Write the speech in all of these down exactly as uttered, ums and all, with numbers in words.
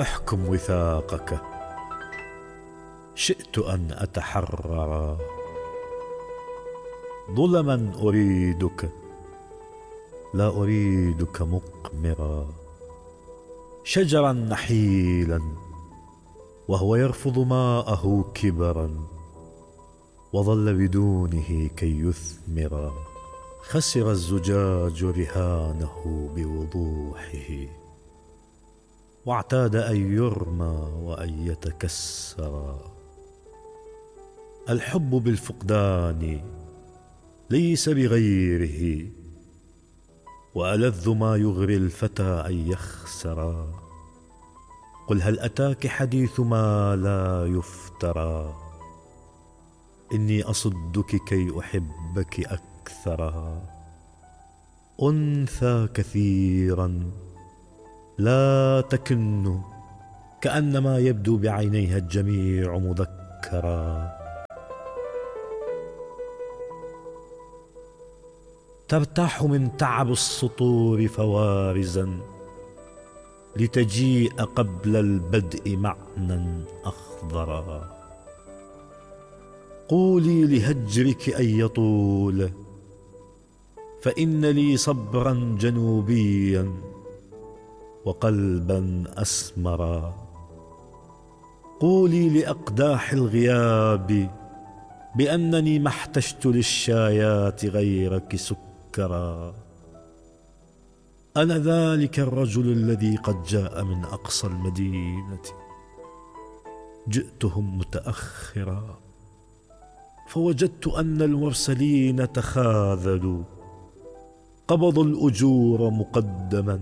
احكم وثاقك. شئت أن أتحرر، ظلما أريدك، لا أريدك مقمرا. شجرا نحيلا وهو يرفض ماءه كبرا، وظل بدونه كي يثمرا. خسر الزجاج رهانه بوضوحه، واعتاد أن يرمى وأن يتكسرا. الحب بالفقدان ليس بغيره، وألذ ما يغري الفتى أن يخسرا. قل هل أتاك حديث ما لا يفترى، إني أصدك كي أحبك أكثرا. أنثى كثيرا لا تكن، كأنما يبدو بعينيها الجميع مذكرا. ترتاح من تعب السطور فوارزا، لتجيء قبل البدء معنى أخضرا. قولي لهجرك أن يطول، فإن لي صبرا جنوبيا وقلبا أسمرا. قولي لأقداح الغياب بأنني ما احتجت للشايات غيرك سكرا. أنا ذلك الرجل الذي قد جاء من أقصى المدينة، جئتهم متأخرا، فوجدت أن المرسلين تخاذلوا، قبضوا الأجور مقدما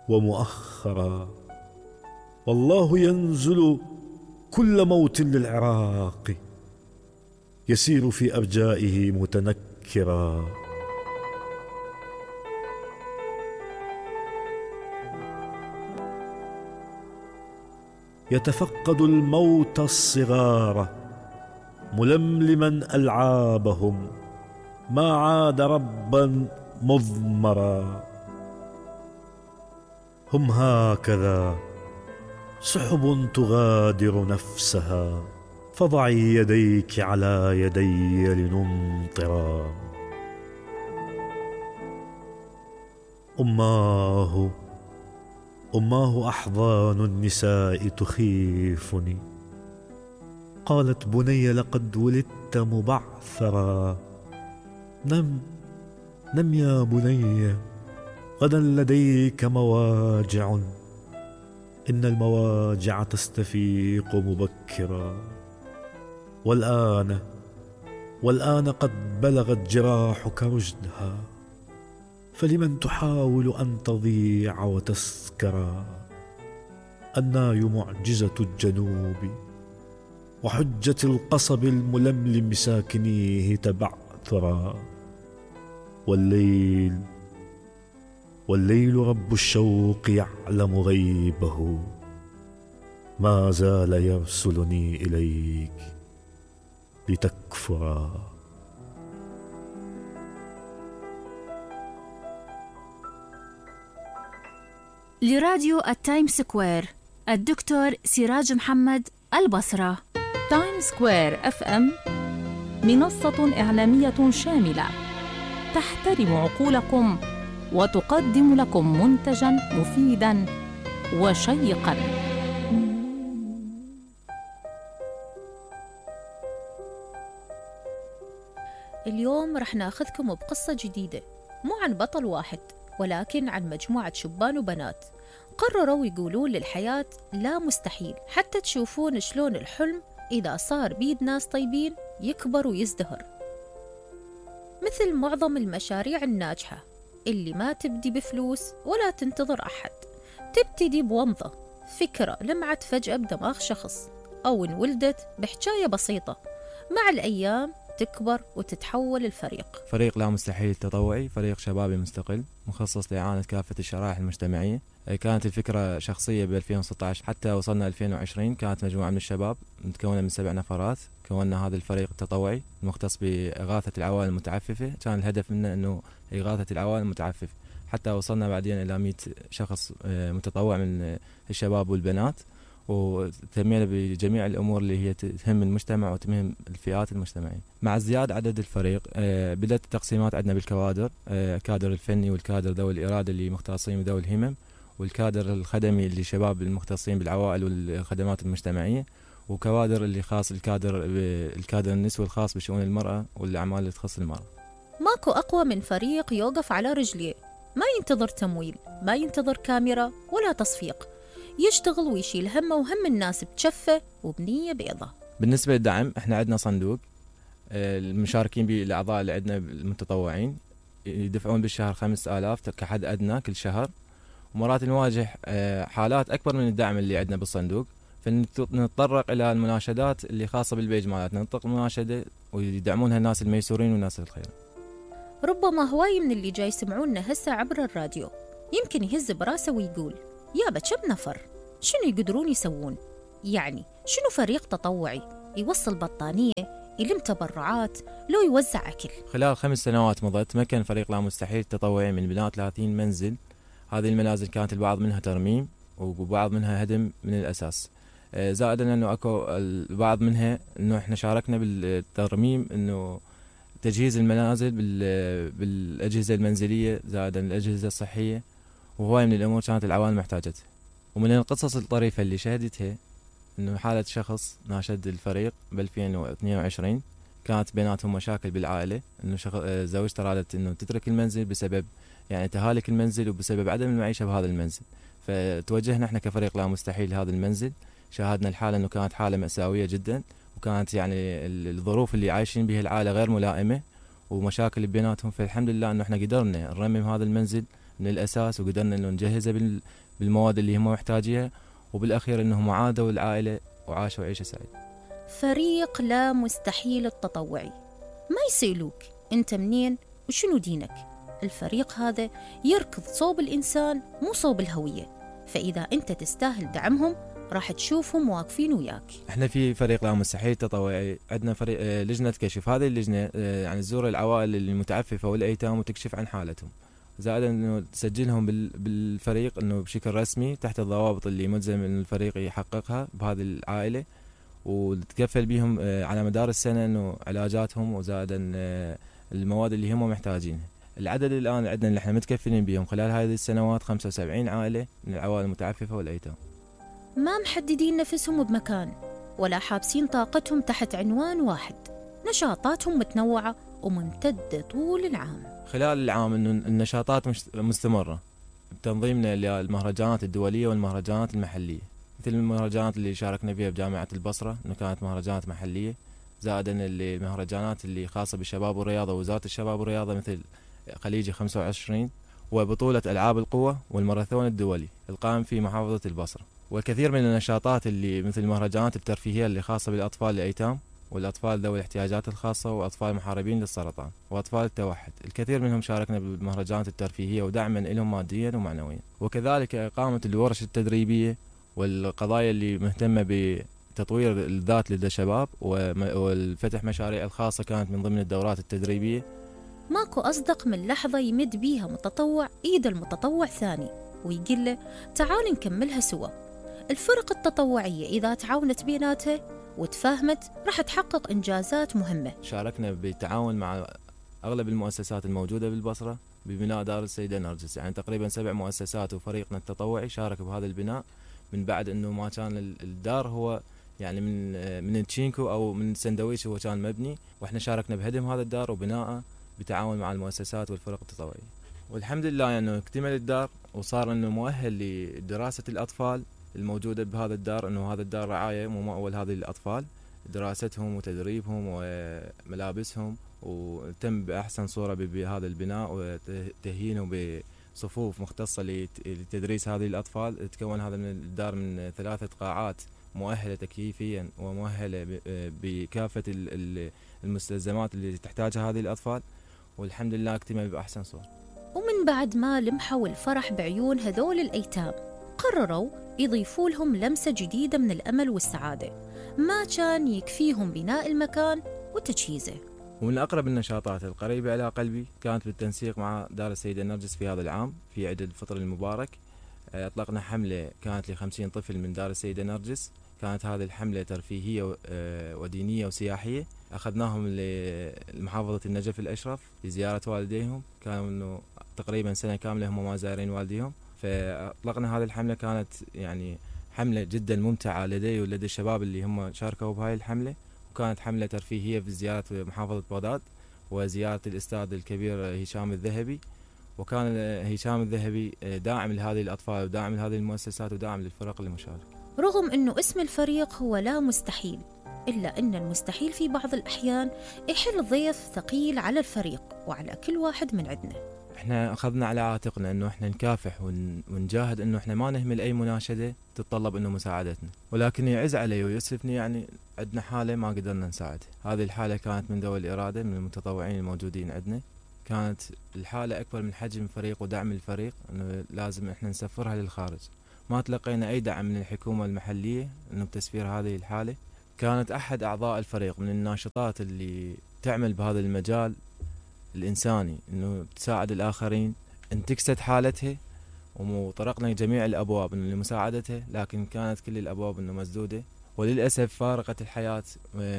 ومؤخرا. والله ينزل كل موت للعراق، يسير في أرجائه متنكرا. يتفقد الموت الصغار ململما ألعابهم، ما عاد ربا مضمرا. هم هكذا سحب تغادر نفسها، فضعي يديك على يدي لنمطرا. أماه أماه أحضان النساء تخيفني، قالت بني لقد ولدت مبعثرا. نم نم يا بني، غدا لديك مواجع، إن المواجع تستفيق مبكرا. والآن والآن قد بلغت جراحك رشدها، فلمن تحاول أن تضيع وتسكرا. الناي معجزة الجنوب، وحجة القصب الململم ساكنيه تبعثرا. والليل والليل رب الشوق يعلم غيبه، ما زال يرسلني إليك لتكفرا. لراديو التايم سكوير الدكتور سراج محمد، البصرة. تايم سكوير اف ام منصة إعلامية شاملة تحترم عقولكم وتقدم لكم منتجاً مفيداً وشيقاً. اليوم رح ناخذكم بقصة جديدة، مو عن بطل واحد، ولكن عن مجموعة شبان وبنات قرروا يقولون للحياة لا مستحيل، حتى تشوفون شلون الحلم إذا صار بيد ناس طيبين يكبر ويزدهر. مثل معظم المشاريع الناجحة اللي ما تبدي بفلوس ولا تنتظر أحد، تبتدي بومضة، فكرة لمعت فجأة بدماغ شخص، أو انولدت بحكاية بسيطة، مع الأيام تكبر وتتحول الفريق. فريق لا مستحيل التطوعي فريق شبابي مستقل مخصص لإعانة كافة الشرائح المجتمعية. كانت الفكرة شخصية ب ألفين وستة عشر حتى وصلنا ألفين وعشرين. كانت مجموعة من الشباب متكونة من سبع نفرات. كوننا هذا الفريق التطوعي المختص بإغاثة العوائل المتعففة. كان الهدف منه أنه إغاثة العوائل المتعففة، حتى وصلنا بعدين إلى مئة شخص متطوع من الشباب والبنات، وتمينا بجميع الأمور اللي هي تهم المجتمع وتهم الفئات المجتمعية. مع ازدياد عدد الفريق بدأت التقسيمات عندنا بالكوادر، كادر الفني والكادر ذوي الإرادة اللي مختصين بذوي الهمم، والكادر الخدمي اللي شباب المختصين بالعوائل والخدمات المجتمعية، وكوادر اللي خاص الكادر الكادر النسوي الخاص بشؤون المرأة والأعمال اللي تخص المرأة. ماكو أقوى من فريق يوقف على رجليه، ما ينتظر تمويل، ما ينتظر كاميرا ولا تصفيق، يشتغل ويشيل همه وهم الناس بجفة وبنية بيضة. بالنسبة للدعم احنا عندنا صندوق، المشاركين به الأعضاء اللي عندنا المتطوعين يدفعون بالشهر خمسة آلاف كحد أدنى كل شهر، ومرات نواجه حالات أكبر من الدعم اللي عندنا بالصندوق، فنتطرق إلى المناشدات اللي خاصة بالبيج مالتنا، نطلق مناشدة ويدعمونها الناس الميسورين والناس الخير. ربما هواي من اللي جاي يسمعونا هسه عبر الراديو يمكن يهز براسه ويقول يابا كم نفر؟ شنو يقدرون يسوون؟ يعني شنو فريق تطوعي يوصل بطانية، يلم تبرعات، لو يوزع أكل؟ خلال خمس سنوات مضت تمكن فريق لا مستحيل التطوعي من بناء ثلاثين منزل. هذه المنازل كانت البعض منها ترميم وبعض منها هدم من الأساس، زائدا أنه أكو البعض منها أنه إحنا شاركنا بالترميم، أنه تجهيز المنازل بالأجهزة المنزلية زائدا الأجهزة الصحية، وهواي من الأمور كانت العوائل محتاجتها. ومن القصص الطريفة اللي شهدتها أنه حالة شخص ناشد الفريق ب ألفين واثنين وعشرين، كانت بيناتهم مشاكل بالعائلة، أنه زوجته أرادت أنه تترك المنزل بسبب يعني تهالك المنزل وبسبب عدم المعيشة بهذا المنزل، فتوجهنا احنا كفريق لا مستحيل لهذا المنزل. شاهدنا الحالة أنه كانت حالة مأساوية جدا، وكانت يعني الظروف اللي عايشين بها العائلة غير ملائمة ومشاكل بيناتهم، فالحمد لله أنه احنا قدرنا نرمم هذا المنزل من الأساس، وقدرنا أنه نجهزه بالمواد اللي هم محتاجيها، وبالأخير أنهم عادوا العائلة وعاشوا عيشة سعيدة. فريق لا مستحيل التطوعي ما يسألوك أنت منين وشنو دينك، الفريق هذا يركض صوب الإنسان مو صوب الهوية، فإذا أنت تستاهل دعمهم راح تشوفهم واقفين وياك. احنا في فريق لا مستحيل التطوعي عندنا فريق لجنة كشف، هذه اللجنة يعني تزور العوائل المتعففة والأيتام وتكشف عن حالتهم، زائدا انه تسجلهم بالفريق انه بشكل رسمي تحت الضوابط اللي ملزم ان الفريق يحققها بهذه العائلة، وتكفل بهم على مدار السنة انه علاجاتهم وزائدا المواد اللي هم محتاجينها. العدد الآن عندنا اللي احنا متكفلين بهم خلال هذه السنوات خمسة وسبعين عائلة من العوائل المتعففة والأيتام. ما محددين نفسهم بمكان ولا حابسين طاقتهم تحت عنوان واحد، نشاطاتهم متنوعة وممتدة طول العام. خلال العام انه النشاطات مستمرة بتنظيمنا للمهرجانات الدولية والمهرجانات المحلية، مثل المهرجانات اللي شاركنا فيها بجامعة البصرة انه كانت مهرجانات محلية، زائدا المهرجانات اللي خاصة بالشباب والرياضة ووزارة الشباب والرياضة مثل خليجي خمسة وعشرين، وبطولة ألعاب القوة والماراثون الدولي القائم في محافظة البصرة، وكثير من النشاطات اللي مثل المهرجانات الترفيهية اللي خاصة بالأطفال الأيتام والأطفال ذوي الاحتياجات الخاصة وأطفال محاربين للسرطان وأطفال التوحد. الكثير منهم شاركنا بالمهرجانات الترفيهية ودعما لهم ماديا ومعنويا، وكذلك إقامة الورش التدريبية والقضايا اللي مهتمة بتطوير الذات لدى الشباب والفتح مشاريع الخاصة كانت من ضمن الدورات التدريبية. ماكو أصدق من لحظة يمد بيها متطوع إيد المتطوع ثاني ويقول له تعال نكملها سوا. الفرق التطوعية إذا تعاونت بيناتها وتفاهمت راح تحقق إنجازات مهمة. شاركنا بالتعاون مع أغلب المؤسسات الموجودة بالبصرة ببناء دار السيدة نرجس، يعني تقريبا سبع مؤسسات وفريقنا التطوعي شارك بهذا البناء، من بعد أنه ما كان الدار هو يعني من من تشينكو أو من سندويش هو كان مبني، وإحنا شاركنا بهدم هذا الدار وبناءه بتعاون مع المؤسسات والفرق التطوعية، والحمد لله يعني اكتمل الدار وصار انه مؤهل لدراسة الأطفال الموجودة بهذا الدار، انه هذا الدار رعاية ممول هذه الأطفال، دراستهم وتدريبهم وملابسهم، وتم بأحسن صورة بهذا البناء وتهيينه بصفوف مختصة لتدريس هذه الأطفال. تكون هذا الدار من ثلاثة قاعات مؤهلة تكييفيا ومؤهلة بكافة المستلزمات اللي تحتاجها هذه الأطفال، والحمد لله اكتمل بأحسن صورة. ومن بعد ما لمحوا الفرح بعيون هذول الأيتام قرروا يضيفوا لهم لمسة جديدة من الأمل والسعادة. ما كان يكفيهم بناء المكان وتجهيزه، ومن أقرب النشاطات القريبة إلى قلبي كانت بالتنسيق مع دار السيدة نرجس في هذا العام في عيد الفطر المبارك. أطلقنا حملة كانت لخمسين طفل من دار السيدة نرجس. كانت هذه الحملة ترفيهية ودينية وسياحية. أخذناهم لمحافظة النجف الأشرف لزيارة والديهم، كانوا تقريبا سنة كاملة هم ما زائرين والديهم. فأطلقنا هذه الحملة، كانت يعني حملة جدا ممتعة لدي ولدي الشباب اللي هم شاركوا بهاي الحملة. وكانت حملة ترفيهية في زيارة محافظة بغداد وزيارة الأستاذ الكبير هشام الذهبي. وكان هشام الذهبي داعم لهذه الأطفال وداعم لهذه المؤسسات وداعم للفرق المشاركة. رغم أنه اسم الفريق هو لا مستحيل، إلا أن المستحيل في بعض الأحيان يحل ضيف ثقيل على الفريق وعلى كل واحد من عندنا. احنا أخذنا على عاتقنا أنه احنا نكافح ونجاهد أنه احنا ما نهمل أي مناشدة تتطلب أنه مساعدتنا، ولكن يعز علي ويؤسفني يعني عندنا حالة ما قدرنا نساعد. هذه الحالة كانت من ذوي الإرادة من المتطوعين الموجودين عندنا. كانت الحالة أكبر من حجم الفريق ودعم الفريق، أنه لازم إحنا نسفرها للخارج. ما تلقينا أي دعم من الحكومة المحلية أنه بتسفير هذه الحالة. كانت أحد أعضاء الفريق من الناشطات اللي تعمل بهذا المجال الإنساني، أنه تساعد الآخرين، انتكست حالتها وطرقنا جميع الأبواب أنه لمساعدتها، لكن كانت كل الأبواب أنه مسدودة، وللأسف فارقت الحياة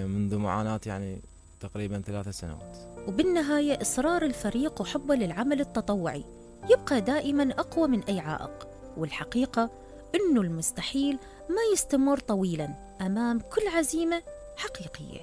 منذ معاناة يعني تقريبا ثلاثة سنوات. وبالنهاية إصرار الفريق وحبه للعمل التطوعي يبقى دائما أقوى من أي عائق، والحقيقة أنه المستحيل ما يستمر طويلا أمام كل عزيمة حقيقية.